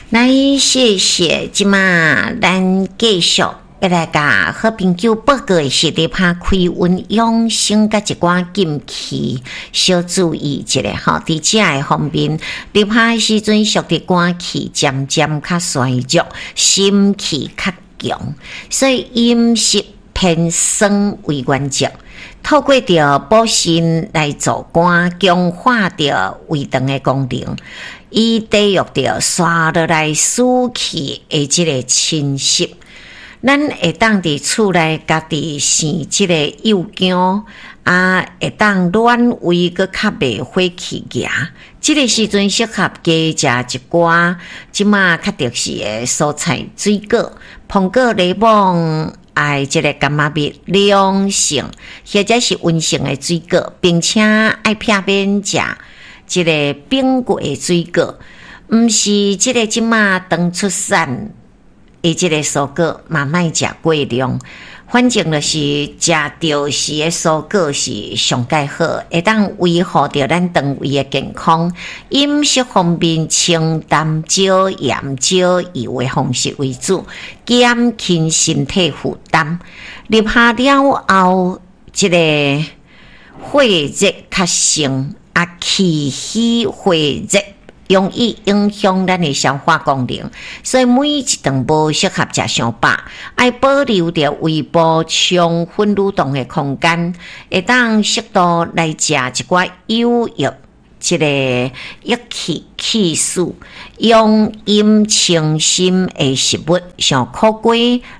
來，謝謝，這馬咱繼續欲來共好朋友報告的是入夏開運養生佮一寡禁忌，小注意一下吼。佇食的方面，入夏的時陣，屬佇肝氣漸漸較衰弱，心氣較強，所以飲食偏酸為原則。透過著補腎來助肝，強化著胃腸的功能，以抵禦著紲落來暑氣的這个侵襲。咱會當佇厝內家己生這个幼薑，啊，會當暖胃，閣較袂火氣額。這个時陣適合加食一寡這馬較特殊的蔬菜水果，蘋果、檸檬。愛這个柑仔蜜涼性或者是溫性的水果，並且愛避免食這个冰過的水果，毋是這个這馬當出產的這个蔬果嘛，莫食過量。反正就是食著時的蔬果是上蓋好，會當維護著咱腸胃的健康。飲食方面，清淡、少鹽、少油的方式為主，減輕身體負擔。入夏了後，這个火熱較盛，啊，氣虛火熱，容易影響咱的消化功能，所以每一頓無適合食傷飽，愛保留著胃部充分蠕動的空間，會當適度來食一寡有益這个益氣氣暑、養陰清心的食物，像苦瓜、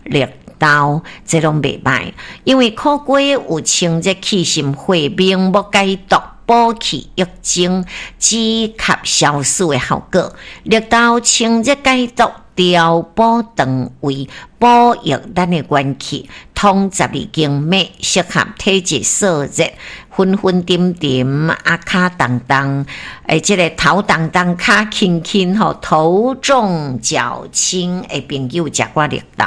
綠豆，這攏袂䆀，因為苦瓜有清熱去心火、明目解毒、補氣益精、止咳消暑的效果。綠豆清熱解毒、調補腸胃、補益咱的元氣，通十二經脈，適合體質燥熱、昏昏沉沉、啊跤重重，欸，這个頭重重、跤輕輕吼，頭重腳輕的朋友食寡綠豆。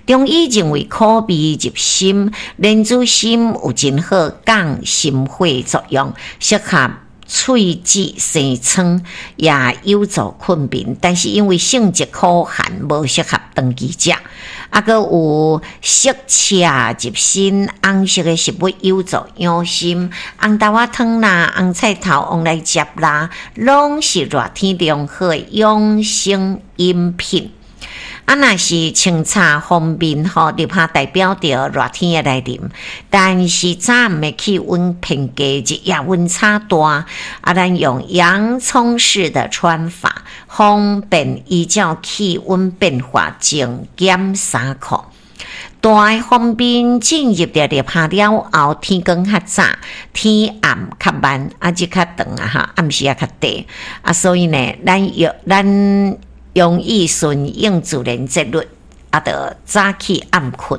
中醫認為苦味入心，蓮子心有真好降心火作用，適合喙舌生瘡，也有助困眠。但是因為性質苦寒，無適合長期食。啊，閣有色赤入心，紅色的食物有助養心，紅豆仔湯啦、紅菜頭、旺來汁啦，攏是熱天良好的養生飲品。啊，若是穿插方面吼，入夏代表著熱天的來臨，但是早暗的氣溫偏低，日夜溫差大，啊，咱用洋蔥式的穿法，方便依照氣溫變化增減衫褲。大的方面進入著入夏了後，天光較早，天暗較慢，啊日較長啊哈，暗時也較短，啊，所以呢，咱用咱容易順應自然節律，啊，著早起暗睏。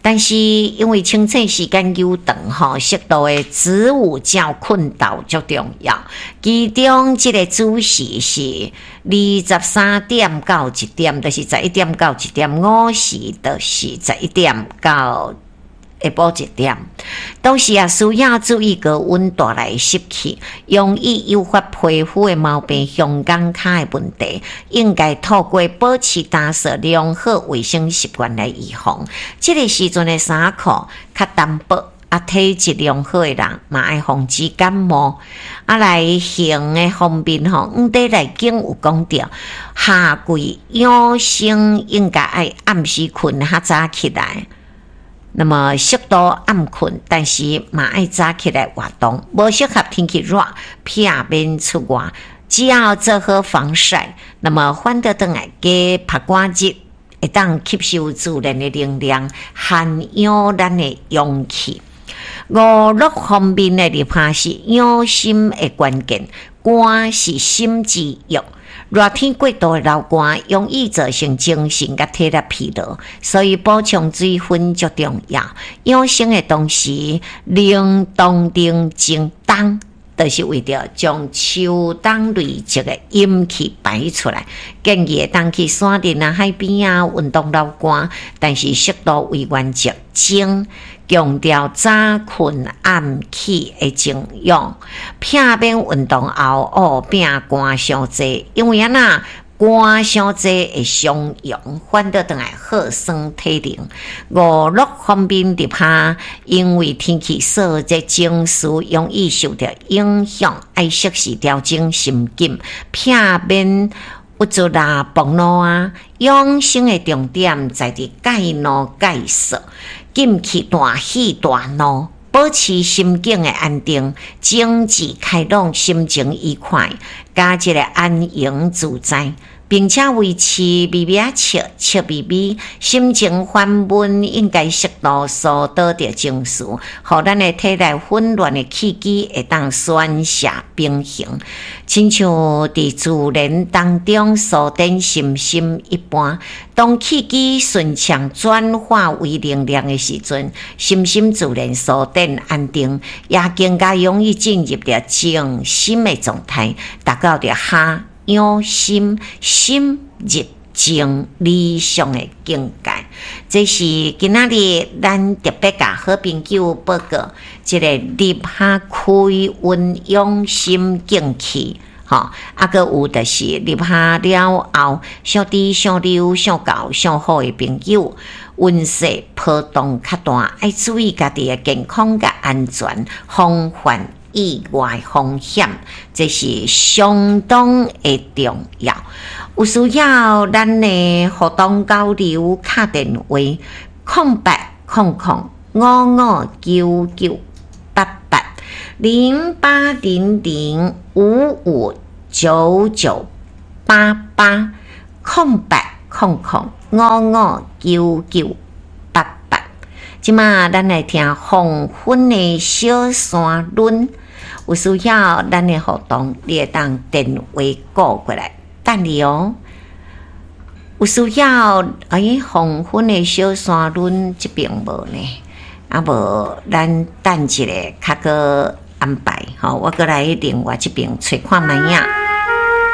但是因為清醒時間久長吼，適度的子午覺睏沓足重要。其中這个子時是23點到一點，就是十一點到一點；午時就是十一點到下晡一點。同時也需要注意高溫帶來濕氣，容易誘發皮膚的毛病、胸肛跤的問題。應該透過保持打掃良好衛生習慣來預防。這个時陣的衫褲較單薄，啊，體質良好的人嘛愛防止感冒。啊，來行的方面吼，黃帝內經有講著，夏季養生應該愛暗時睏較早起來。那麼適度暗睏，但是嘛愛早起來活動，無適合天氣熱，避免出外。只要做好防曬，那麼反倒轉來加曝汗熱，會當吸收自然的能量，涵養咱的陽氣。五樂方面的入夏是養心的關鍵，肝是心之藥。熱天過度的流汗，容易造成精神佮體力疲勞，所以補充水分足重要。養生的同時，冷凍冷靜冬，就是為著將秋冬累積的陰氣排出來。建議會當去山林啊、海邊啊運動流汗，但是適度為原則。靜強調早睏暗起的靜養，避免運動後哦變汗傷濟，因為按怎汗傷濟會傷陽，反倒轉來耗損體能。五樂方面入夏，因為天氣燥熱，情緒容易受著影響，愛適時調整心境，避免鬱卒啦、暴怒啊。養生的重點在佇戒怒戒燥，禁去大喜大怒，保持心境的安定，精緻開朗，心情愉快，佮一个安閒自在，並且維持微微仔笑，笑眯眯，心情煩悶，應該適度疏導著情緒，予咱的體內混亂的氣機會當宣洩平衡，親像佇自然當中蘇展身心一般。當氣機順暢轉化為能量的時陣，身心自然蘇展安定，也更加容易進入著靜心的狀態，達到著夏養心，心入靜理想的境界。這是今仔日咱特別共好朋友報告，這个入夏開運養心靜氣，吼，啊，閣有就是入夏了後，屬豬、屬牛、屬狗、屬虎的朋友，運勢波動較大，愛注意家己的健康佮安全，防範意外風險，這是相當的重要。有需要咱的互動交流，敲電話080055998808005599880800559988。這馬咱來聽黃昏的小山崙。有需要咱的互動，你會當電話撥過來等你哦。有需要，欸，黃昏的小山崙這邊無呢，啊無，咱等一下較閣安排吼，我閣來另外這邊揣看覓仔。